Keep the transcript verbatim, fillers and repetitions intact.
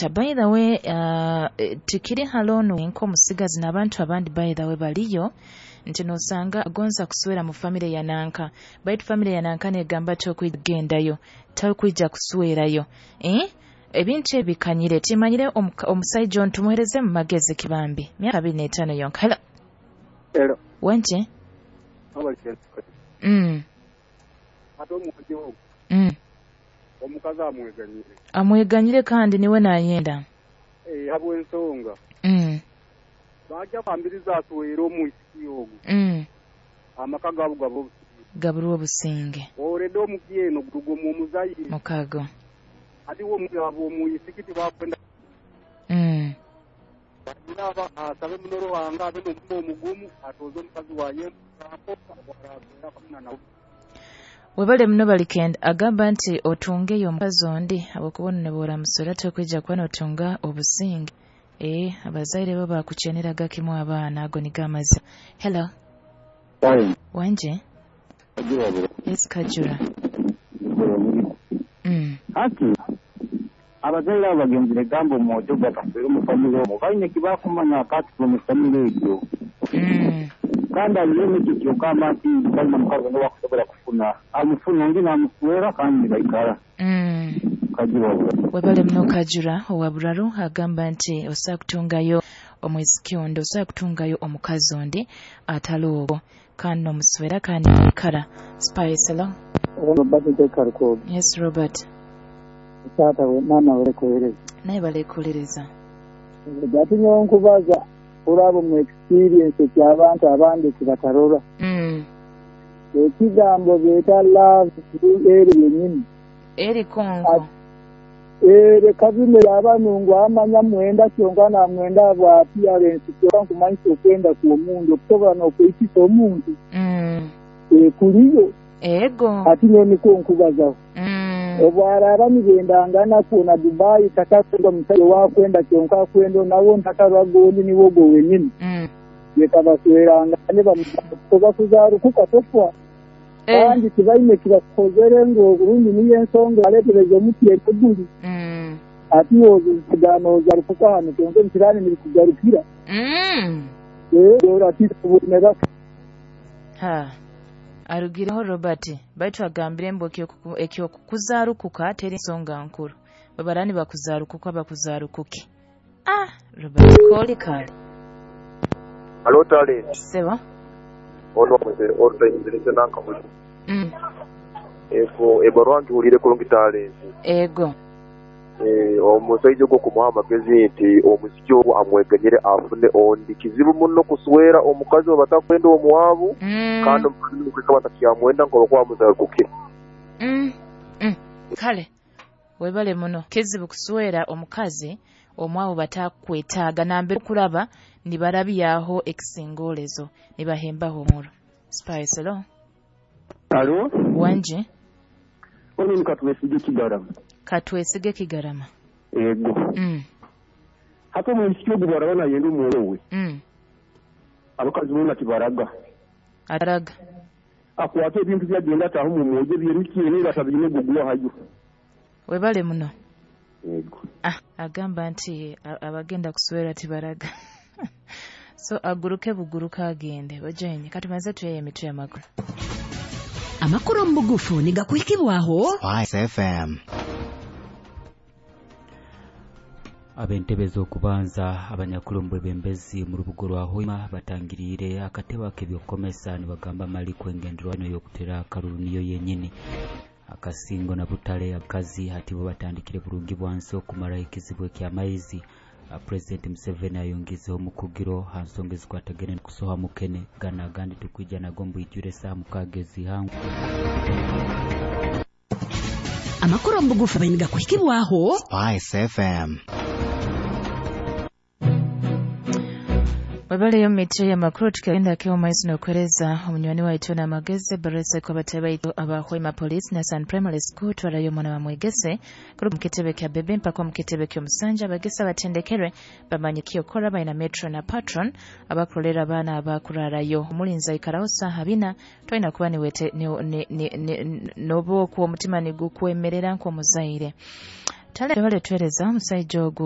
Ata by the way, uh, tikiri halono nk'omusigazi n'abantu abandi by the way baliyo nti nosanga agonza kuswera mu famire ya nanka, baitu famire ya nanka negamba tokwigendayo, tokwija kuswerayo, eh? Ebintu ebikanyire timanyire omusaija ono tumuhereze mu magezi kibambi myaka abiri n'etaano yonka. Hello. Hello. Wanje? Mm. Mm. Omukazi amweganyire. Amweganyire kandi niwe nayenda. Eh, habw'ensonga. Mm. Bajja kwambiriza aswere omwisiki ogwo. Mm. Amaka gabo gabo gabulwa obusinge. Oredde omukyeno gurugo mu muzayi. Mukago. Ati wo mugabo omwisiki tibakwenda. Mm. Naba asabe munoro wanga abe n'omutima omugumu atoze omukazi waye Webale muno balikenda agamba nti otungeyo omukazi ondi habwokuba nobora musora tokwija kuba notunga obusinge. Eh, abazaire bo bakucheneraga kimu abaana ago nigo amazima. Hello. Wanje? Yes, Kajura. Mm. Hati abazaire abo bagenzire gamba omwojo gakaswera omu famire omwo baine kibakumanya akati omu famire egyo. Mm. Kandi aliyo n'ekyo kyokamba nti balina mukazi n'owakusobola kufuna amufuna ondi n'amuswera kandi baikara. Mm. Kajura. Webale muno Kajura owa Buraru agamba nti osobola kutungayo omwisiki ondi, osobola kutungayo omukazi ondi atali ogwo kandi n'omuswera kandi baikara. Spice, hello. Robert Karukogo. Yes, Robert. Tata we mama wale Naye balekulereza. Ati nyowe nkubaza olabo mu experience ky'abantu abandi kibatarora. Mm. Ekigambo beeta love eri yennyini. Eri konko. Ere kabine y'abanungu amanya mwenda kyonka namwenda bwa appearance kyonka nkumanyisa okwenda kw'omuntu okusobola n'okuyitisa omuntu. Mm. Ekuliyo. Ego. Ati nyowe nikwo nkubazaho. Mm. Obwaraba nibendangana kwona Dubai takakwenda omusajja wakwenda kyonka akwenda nawo ntakarwagondi niwo ogwo wenyini. Mm. Yekabasweranga ne bamukoba kuzaarukuka tofwa. Eh. Kandi tibaine kibakozere ngu oburundi niyo ensonga aleetereza omuti eguli. Mm. Ati ozozarukuka hano kyonka ebikiraani nibikugarukira. Mm. Ee, ati tubonera. Ha. Arugireho Robert baitu agambire mbu ekyokukuzarukuka teri nsonga nkuru babarani bakuzarukuka bakuzarukuke. Ah, Robert koli kale. Alo tale. Seba. Ono mwe orta inzirese nanka mwe. Mm. Ego ebarwa ngiwulire kulungi talenti. Ego. Eh, omusajja ogwo kumuha amagezi nti omusiki ogwo amweganyire afune ondi kizibu muno kuswera omukazi oba batakwenda omuwabu. Mm. Kandi omukazi okweka batakyamwenda nko bakuba muzarukuke. Mm. Mm. Kale webale muno kizibu kuswera omukazi omwabu batakwetaaga nambe kuraba nibarabyaho ekisingolezo nibahembaho omuro. Spice, hello. Alo? Wanje? Ono ni Katwesige Kigarama. Katwesige Kigarama. Ego. Mm. Hapo mu msikio gubarabana yenda omwoyo we. Mm. Abakazi bona tibaraga. Ataraga. Akwata ebintu byagenda ataho mu mwojo byemikiene batabine gugwa hayo. Webale muno. Ego. Ah, agamba nti abagenda kuswera tibaraga. So aguruke buguruka agende. Bajenye katumaze tuyeye emitwe y'amakuru. Amakuru mu bugufu nigakuhikibwaho Spice F M. Ab'entebe z'okubanza abanyakulombo bembezi mu rubugo rwa Hoima batangiriire akatebe ak'ebyokukomesa nibagamba mali kwengenderwa ino y'okutera akalulu niyo yennyini. Akasingo na butale abakazi hati bo batandikire bulungi bwansi okumala ekizibu eky'amaizi. President Museveni ayongezeho omukugiro ha nsonga ezikwatagene n'okusoha mukene gana agandi tukwija nago mbwijure saa mukaaga ezihangu. Amakuru mu bugufu nigakuhikibwaho Spice F M. Webaleyo mitwe y'amakuru tukagenda keo maizi n'okwereza omunywani waitu n'amagezi barese ko batebaitu aba Hoima Police na San Primary School twarayo mwana wa mwegese kuri mukitebe kya bebe mpaka mukitebe ky'omusanja abagesa batendekerwe bamanye kyokora baina metro na patron abakolera abaana abakurarayo omulinzi aikaraho saha bina twina kuba niwete nobo ku omutima nigukwemerera nk'omuzaire tale bale twereza omusajja ogwo.